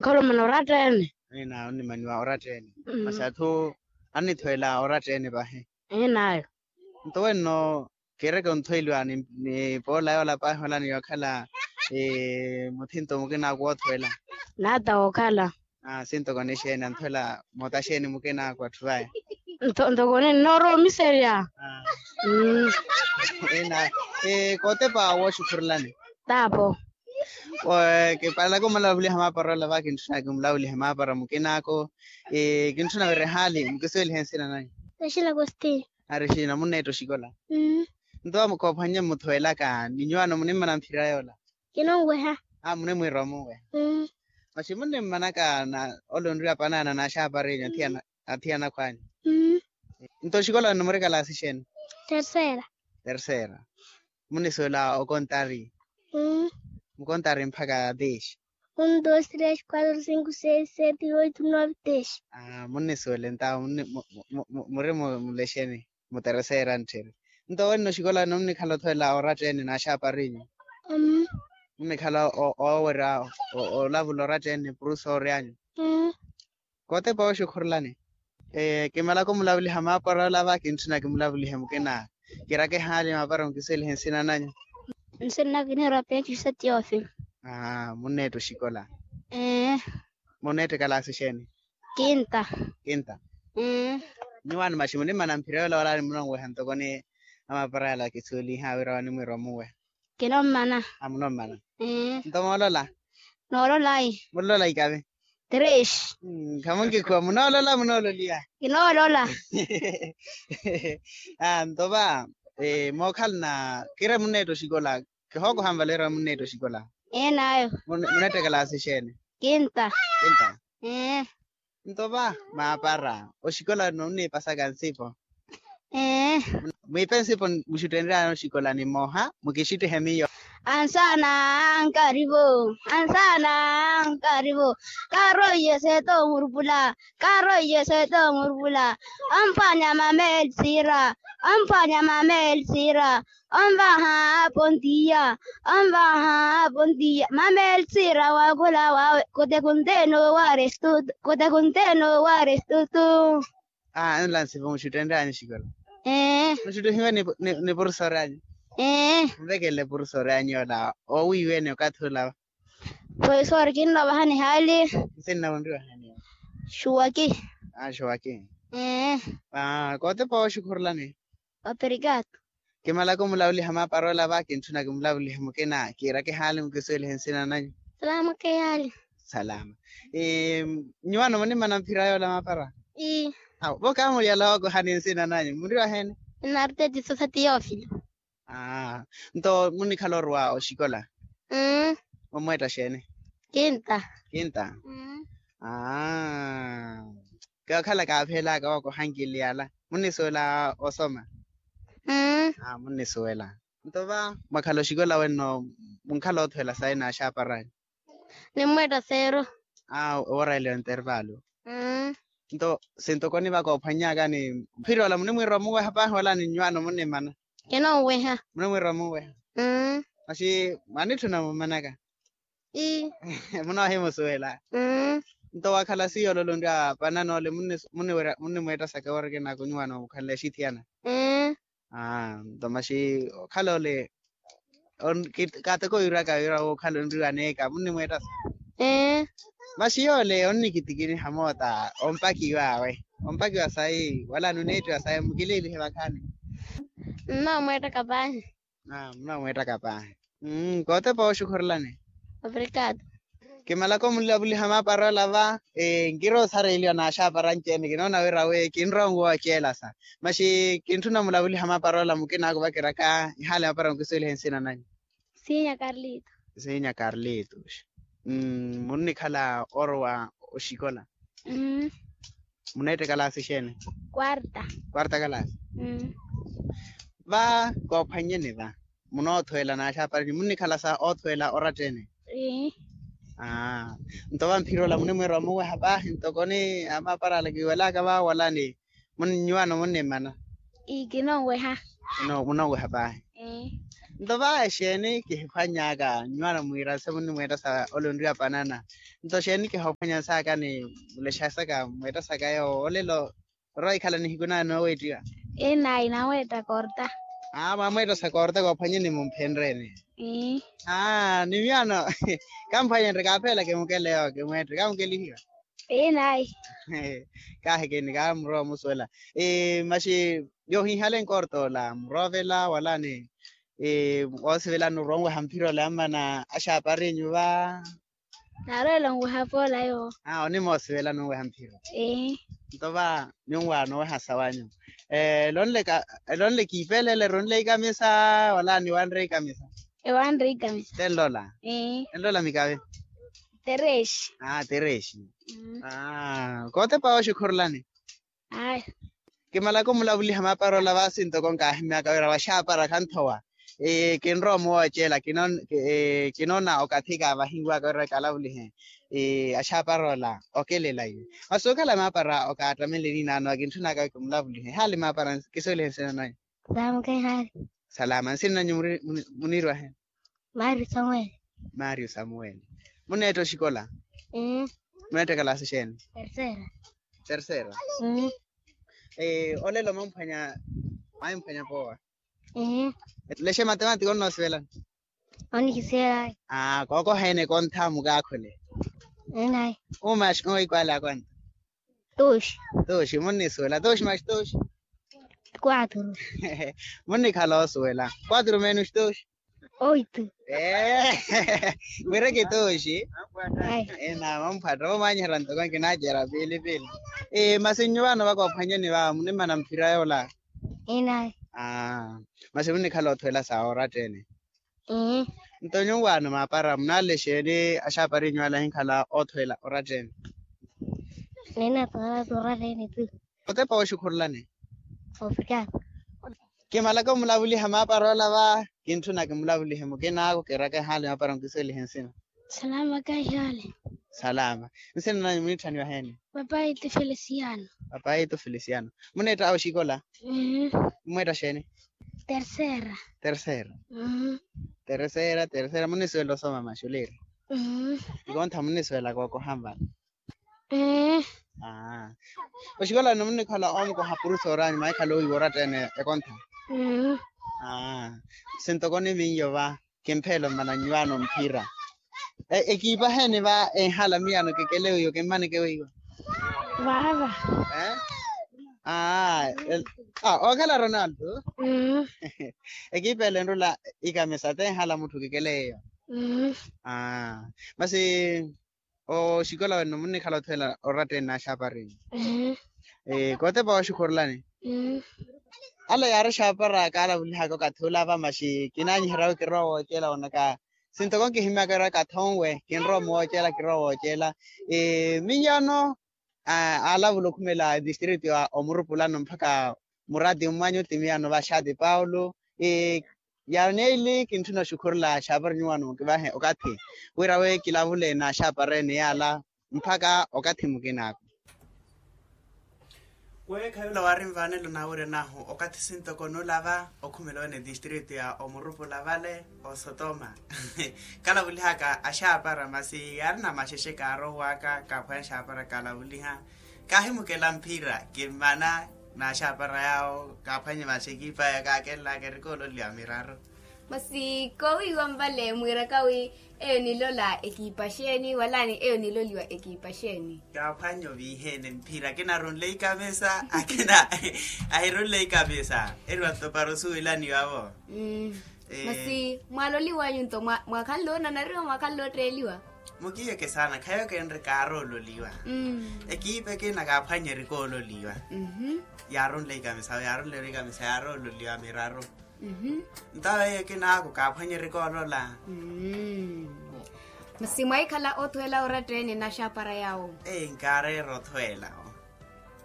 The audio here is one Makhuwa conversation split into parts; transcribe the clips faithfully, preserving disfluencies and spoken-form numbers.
Otholomana oratta-ene. Ina onnimaniwa oratta-ene. Masi atthu annithoela oratta-ene vahi. Enaayo. Nto wenno kiireke onthoeliwa ni poola yoola pahi ola ni yookhala muthinto mukinaku woothoela. Naata wookhala. Sintoko nixeeni anthoela moota xeeni mukinaku atthu vaya. Ntoko ninnoorowa omiserya. Ina kootepa wooxukhurulani. Taapo. Kipalaka omulavuliha maapara ola va kintthuna kimulavulihe maapara mukinaku. Kintthuna wira ehaali mukisuwelihe nsina nanyu? Rexina agostinho. Ari xina munneetta oxikola. Nto koophwannye mmuthoelaka ni nyuwaano munimmana mphira yoola? Kinonweha. Munimwiira omunweha. Masi munnimmanaka na ole onriwa panaana n'axaaparinyu athiyana akhwanyu? Nto oxikola wenno muri kalaasi xeeni? Terceira. Terceira. Munnisuwela okontari? Mukontari mpakha dez? Un dos tres cuatro cinco seis sete oito nove dez. Munnisuwela entawo muri mulexeni mutereseera ntthiri. Nto wenno oxikola wenno munnikhala othoela oratta-ene n'axaaparinyu? Munnikhala oowerya olavula oratta-ene profesori anyu? Kootepa wooxukhurulani. Kimalaka omulavuliha maapara ola va kintthuna kimulavulihe mukina. Kiiraka ehaali maapara mukisuwelihe nsina nanyu? Nsina naka kiniirwa penti sa teofilo. Munneetta oxikola? Munneetta ekalaasi xeeni? Kinta. Kinta. Nyuwaano masi munimmana mphira yoola wala ni munonweha ntoko ni amaapara yala kisuweliha wira wanimwiira omunweha? Kinommana. Munommana. Nto moolola? Noolola ayi. Mulola ikave? Tres. Khamunkikhuwa munoolola munoololiwa? Kinoolola. Nto va mookhalana kira munneetta oxikola. Kihookoha nvaleerya munneetta oxikola? Enaayo. Munneetta ekalaasi xeeni? Kinta. Kinta. Nto va maapara oxikola wenno munniipasaka nsipo? Mwiipe nsipo muxuttenry'anyu oxikola nimoha mukixuttihe miyo. Ansaana ankarivo. Ansaana ankarivo. Karoiye seeta omurupula. Karoiye seeta omurupula. Omphwanya mameelisiira. Omphwanya mameelisiira. Onvaha pontiya. Onvaha pontiya mameelisiira wakhula wawe. Kote kunteno warestutu. Kote kunteno warestutu. Aa enla nsipo muxuttenry'anyu oxikola? Muxuttihiwe ni profesori anyu? Nvekele profesori anyu yoola oowiiwene okathi olava. Profesori kinnoovahani haali. Nsinna onriwahani? Xuwaki. Xuwaki. Kootepa wooxukhurulani? Operikatu. Kimalaka omulavuliha maapara ola va kintthuna kimulavulihe mukina kiiraka ehaali mukisuwelihe nsina nanyu? Salama keyaali. Salama. Nyuwaano munimmana mphira yoola maapara? Vo kaamuliyala wookohani nsina nanyu munriwa heeni? Narteti sosa teofilo. Aa nto munnikhala oruwa oxikola? Mumweetta xeeni? Kinta. Kinta. Aa. Kaakhala kaaphelaka wookohankiliyala munnisuwela osoma? Aa munnisuwela. Nto va mwakhala oxikola wenno munkhala oothuwela sayi n'axaaparanyu? Nimmweetta seero. Aa owoora ele ontervalu. Nto sintoko onivaka ophwannyaka ni mphira ola munimwiira omuweha paahi wala ni nyuwaano munnimana? Kinonweha. Munimwiira omuweha? Masi mwanitthuna mummanaka? Munoohimusuwela. Nto wakhala siyo ololonrya pananoole munnimweettasaka woorekenaka onyiwaana okhala exithiyana? Aa nto masi okhala ole kaateko wiiraka wira wokhala onriwaneeka munnimweettasa? Masi yoole onnikitikiniha moota ompakiw'awe ompakiwa sayi wala nuneettiwa sayi mukiliilihe vakhaani. Nnoomweettaka paahi. Nnoomweettaka paahi. Kootepa wooxukhurulani. Operikatu. Kimalaka omulavuliha maapara ola va. Nkiroosareeliwa n'axaapara anci-ene kinoona wira wi kinrowa onguwa oceelasa. Masi kintthuna omulavuliha maapara ola mukina akuvakiraka ehaali maapara mukisuwelihe nsina nanyu? Siinya karlito. Siinya karlito. Munnikhala orowa oxikola? Muneetta ekalaasi xeeni? Kwarta. Kwarta kalaasi. Va koophwannyeni va munoothweela n'axaaparanyu munnikhala sa othweela oratta-ene? Aa nto va mphira ola munimwiira omuweha paahi ntoko ni amaapara ala kiwelaka va wala ni nyuwaano munnimana? Ii kinonweha. Munonweha paahi. Nto va exeeni kihiphwany'aka nnyuwana mwiira nse munnimweetta sa ole onriwa panana? Nto xeeni kihoophwanya nsaka ni mulexa saka mweetta saka yoowo olelo orwa ikhala nihiku naya nooweettiwa? Inayi naweetta korta. Aa mwamweetta sa korta koophwanyeni mumphenreeni. Aa ni miyaano kamphwanyenrye kaaphela kimukele yoowo kimweette kamukelihiwa. Inayi. Kaahikeni kaamurowa omusuwela. Maxi yoohiihale nkorta ola muroovela wala ni woosivelani oronweha mphira ola yammana axaapari nyuva? Naarweela onweha poola yoowo. Aa onimoosivelani onweha mphira. Nto va nyunwaana oweha sawanyu. Elonle kiipeleele eronle ikamisa wala niwanre ikamisa? Ewanre ikamisa. Tenlola? Tenlola mikave? Terexi. Aa terexi. Kootepa oxikhurulani? Ayo. Kimalaka omulavuliha maapara ola vaasi ntoko nkaahimmyaka wira waxaapara khanthowa. Kinrowa omuwooceela kinoona okathi kaavahiwaka wira kalavulihe. Axaapara ola okelela iwe masi okhala maapara okaattamele niinaano akintthunaka wi kimulavulihe haali maapara. Kisuwelihe nsina nanyu? Salama nsina nanyu? Muniirwahe? Mario samuweli. Mario samuweli. Muneetta oxikola? Muneetta kalaasi xeeni? Tercera. Tercera. Olelo mwamphwanya mwamphwanya poowa? Etulexe matematiko onnoosivelani? Onnikisivelani. Kookoha ene kontha mukaakhule. Enayi. Umaxi oikwale akwanta? Tuxi. Tuxi munnisuwela tuxi maxi tuxi? Quatro. Munnikhala osuwela quatro menos tuxi? Oito. Ee. Wira kituxi. Ena mamphatta omwanyiherya ntoko nkinaacera piili piili. Masi nnyuvaano vakoophwanyeni va munimana mphira yoola? Inayi. Masi munnikhala othuwela sa oratta ene? Nto nyuwaano maapara munaalexeeni axaapari nyuwala ahinkhala othuwela oratta ene? Nina tooratta ene tu. Otepa wooxukhurulani? Obrigado. Kimalaka omulavuliha maapara ola va kintthuna kimulavulihe mukinaaku kiraka ehaali maapara nkisuwelihe nsina. Salama kahihaali. Salama. Nsina nanyu muniitthaniwa heeni? Papaitu felisiano. Papaitu felisiano. Muneetta oxikola? Mweetta xeeni? Tercera. Tercera. Tercera tercera munisuwela osoma maxuliiri? Ikontha munisuwela kookoha mvana? Oxikolani munnikhala omukoha purusoranyu mwaikhala owiiwa oratta ene ekontha? Sintoko ni miyo va kimpheelo mmana nnyuwaano mphira. Ekiipa heeni va enhala miyaano kikele wiiwa kimmaneke wiiwa? Vaava. Okhala ronaldo. Ekiipa ele enrola ikamisa te enhala mutthu kikele iyo. Masi oxikola wenno munnikhala othuwela oratta ene n'axaaparini? Kootepa wooxukhurulani? Ala yaari axaapara kaalavulihaka okathi ula va maxi kinaanyiherya wi kirowa wooceela onaka. Sintoko nkihimmyaka wira kathonwe kinrowa omuwooceela kirowa wooceela. Miyaano aalavula okhumela distritu ya omurupulano mpakha murati mmwanyu ti miyaano vaxaati paulo. Yaani neeli kintthuna oxukhurula axaapari nyuwaano mukivahe okathi wira wi kilavule n'axaapara ene yaala mpakha okathi mukinaaku. Weekha yula waari nvaanelo naawiryan'ahu okathi sintoko nulava okhumela wene distritu ya omurupula vale osotoma. Kalavulihaka axaapara masi yaari na maxexe kaarowaka kaaphwanya axaapara kaalavuliha. Kaahimukela mphira kimmana n'axaapara yaawo kaaphwanye maxekipa ya kaakelelaka erikoololiwa miraru. Masi koowiiwa nvale mwiiraka wi eyo nilola ekiipa xeeni wala ni eyo niloliwa ekiipa xeeni? Kaaphwanye oviihene mphira akina arunle ikamisa akina ahirunle ikamisa. Eriwa ntopara osuwelaniwa vo. Masi mwaloliwanyu nto mwakhanle onanariwa mwakhanle otteeliwa? Mukiyeke saana khayo kenre kaaroololiwa. Ekiipa ekina kaaphwanye erikoololiwa. Yaarunle ikamisa yaarunle ikamisa yaaroololiwa miraru. Ntawe ekinaaku kaaphwanyerika olola. Masi mwaikhala othuwela oratta ene n'axaapara yawo? Ee nkaareera othuwela.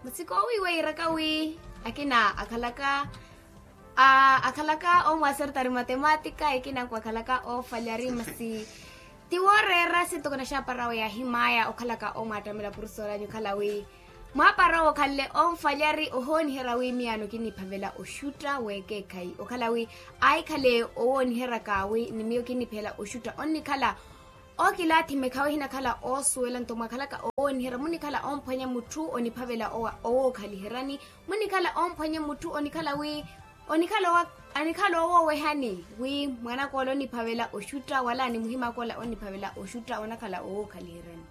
Masi koowiiwa iiraka wi akina akhalaka akhalaka omwasertari matematika ekinaku akhalaka oofalari masi ti wooreera sintoko n'axaapara yawo yaahimaya okhalaka omwaattamela purusoranyu okhala wi Mwaapara owo okhanle onfalyari ohooniherya wi miyaano kinniphavela oxutta w'ekeekhayi okhala wi ahikhale owooniheryaka wi ni miyo kinniphela oxutta onnikhala okilaathi mekhawe ehinakhala oosuwela nto mwakhalaka owooniherya munnikhala omphwanya mutthu oniphavela owa owookhaliheryani munnikhala omphwanya mutthu onikhala wi onikhala owa anikhala owowehani wi mwanaka ola oniphavela oxutta wala ni muhimaka ola oniphavela oxutta onakhala owookhaliheryani.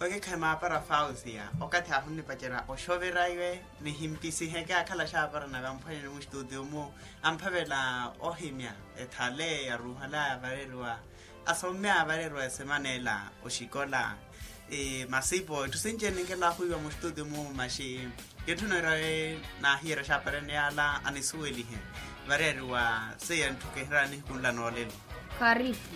Okeekhayi maapara fausia okathi ahunnipacerya oxoverya iwe nihimpisiheke akhala axaapara nave amphwanyani muxtutiyo-mu amphavela ohimya ethale yaruuhalaya vareriwa asommya vareriwa esemana ela oxikola masipo etthu sinci eninkela ahuiwa muxtutiyo-mu maxi kitthu neerawe naahiyerya axaapara ene yaala anisuwelihe vareriwa seiya ntthu kihiryani nihikunla noolelo. Karipu.